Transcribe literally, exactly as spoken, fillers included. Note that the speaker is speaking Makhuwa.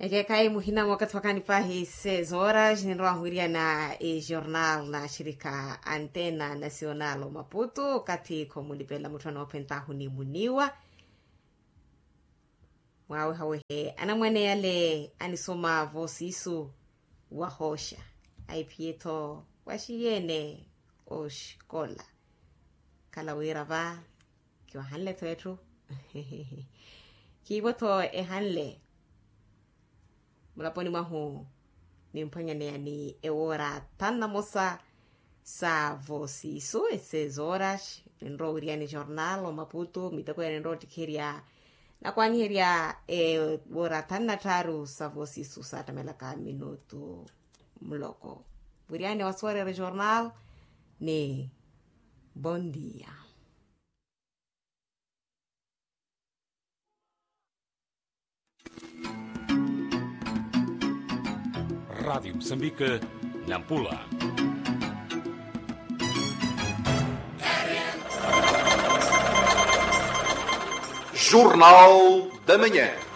Ekeekhayi muhina mwa okathi wakanipahi seis horas ninrowa wiriana ejornal na axirikha antena nacional omaputu okathi khomulipela mutthu anoophentahu ni muniwa. Mwawehawehe anamwane yale anisoma voosiisu wahooxa, aiphiye-tho waxiyene oxikola. Khala wira va kiwahanle-tho etthu. Khiivo-tho ehanle mulaponi mwahu nimphwanyaneya ni ewoora thanu na mosa sa voosiisu eseis horas. Ninrowa owiriyani jornal omaputu miteko ya ninrowa ottikherya nakwaaniherya ewoora thanu na tthaaru sa voosiisu saattamelaka minutu muloko. Wiriyani wasuwarerya jornal ni bondia. Radiyo musambike nampula. Jornal da manhã.